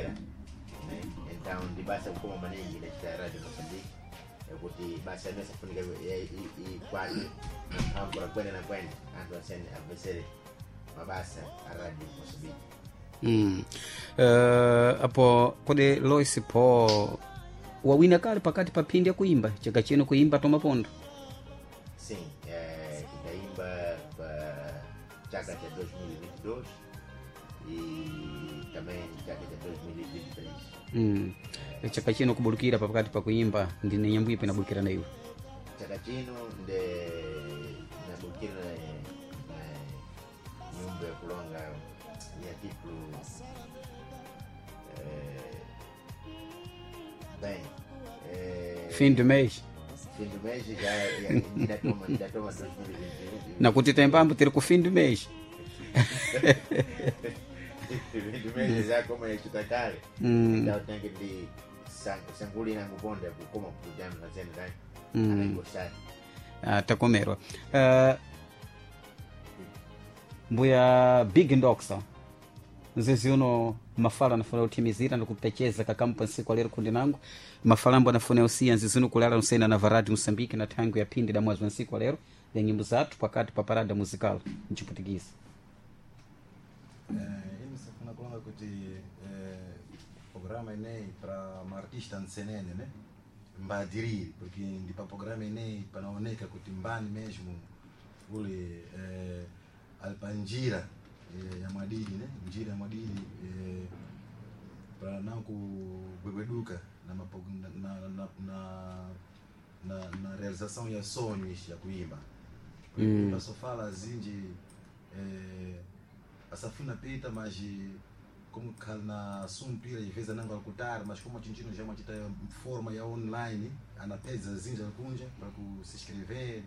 Kubwera, né? Então ndi basa kukoma maningi inachita Radio Moçambique, yakuti basa imene safunika ikwate na mphamvu la kwenda na kwenda, anthu asene amvesere mabasa a Radio Moçambique. Apo kodi Lois Paul wawina kale pakati pa phindi yakuimba chaka chino kuimba tomapondo? Sim, ndaimba pa chaka cha 2022 e também chaka cha 2023. Chaka chino kubulukira pa pakati pa kuimba ndine nyambo ipi inabulukira na iwe? Chaka chino nde nabulukira na nyumba ya kulonga ya título bem Fim do mês. Fim do mês já ndatoma 2021. Nakuti tembambo tiri ku fim do mês. Fim do mês já como yachita kale. Então tem que ndi sanguli nanguponda kukoma kujana na zene tani anaingosani. Ah, takomerwa. Mbuya Big Ndoxa, nzizi uno mafala anafuna utimizira ndikupecheza kakampa nsiku alero kundi nangu mafala ambo anafuna usiya nzizi uno kulala nsena na varadi Moçambique na thangu ya phindi da mwezi wa nsiku alero ya nyimbo zathu pakati pa parada musical mchiputikisi. Ine safuna kulonga kuti programa ineyi para maartista nsenene, né, mbaadirire, porque ndi pa programa ineyi panaoneka kuti mbani mesmo uli ali pa njira ya mwadidi, né, njira ya mwadidi para não kugwegweduka na, na, na, na, na, na realização ya sonhos ya kuimba. Só fala zinji asafuna pita, mas como na sumpira às vezes ananga alcutar, mas como a gente já machita forma ya online, anapeza zinji alkunja para se inscrever.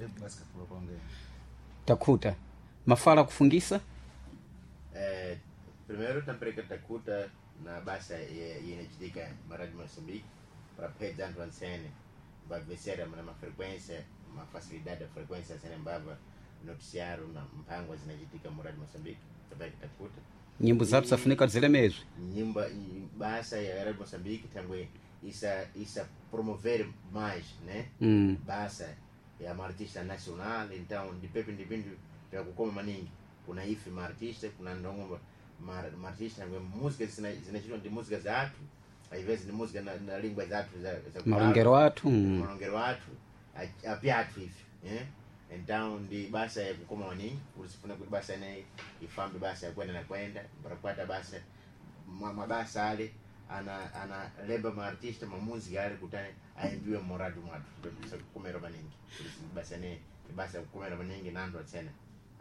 É basicamente para onde Takhuta mafala kufungisa. Primeiro tampereka takuta na basa yenachitika maradi Moçambique para pedza anthu ansene vabvesera na mafrequência, mafacilidade da frequência ansene mbava noticiário na mphangwa zinachitika muradi Moçambique, tampereka takuta. Nyimbo zathu zafunika zilemezwe. Nyimba basa ya Radio Moçambique tangwe isa promover mais, né, basa ya maartista nacional. Então ndipepe ndi vintu vyakukoma maningi kuna ife maartista, kuna ndongo maartista ngwe música zinachitwa ndi música zathu, às vezes ndi música na língua zathu za kudala. Malongero athu. Malongero athu apyathu ife, eh? Então ndi basa yakukoma maningi kuti sifuna kuti basa ineyi ifambe, basa yakwenda na kwenda parakwata basa mabasa ale ana leba maartista mamuzika ale kuti aimbiwe moradi mwathu kukomera maningi. Kuti basa ineyi ni basa yakukomera maningi nandu atsena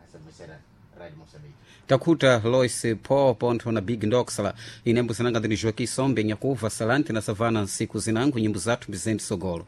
asabvesera Radio Moçambique. Takhuta Lois Paul pontho na Big Ndoxla, inembo zinanga ndini Joaquim Sombe nyakuva salante na savana nsiku zinangu nyimbo zathu mbizenti sogolo.